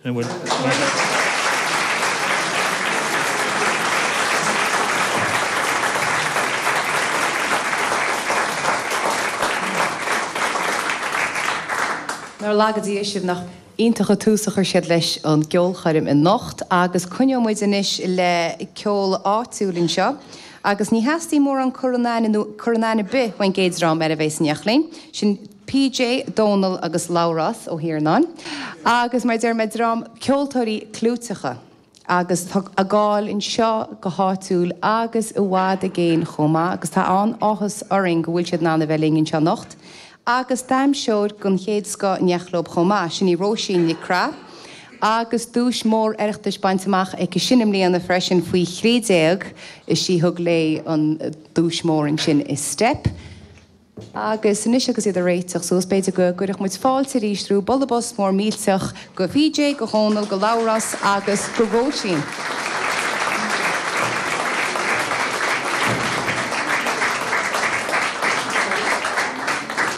An bhfuil? Nár laga Dia sibh, nach iontach an tús a chuir siad leis an gceolchoirm anocht agus coinneoidh muid anois le ceol áitiúil anseo agus ní theastaíonn mórán cur in aithne nó cur in aithne ar bith ón gcéad dream eile a bheas in éineacht linn, sin PJ, Dónal agus Labhrás Ó hIarnáin agus mar a deir mé dream ceoltóirí clúiteacha agus tá a gcáil anseo go háitiúil agus i bhfad i gcéin chomh maith agus tá an-áthas orainn go bhfuil siad in ann a bheith linn anseo anocht agus damhsóir den chéad scoth in éineacht leo chomh maith, sin í Róisín Nic Craith agus duais mór Oireachtais bainte amach aici sin i mbliana freisin faoi 13 is í a thug léi an duais mór ansin i Steip. Agus anois agus iad ag réiteach suas, b'fhéidir go gcuirfeadh muid fáilte arís roimh bualadh bos mór millteach go PJ, go Dhónal, go Labhrás agus go Róisín.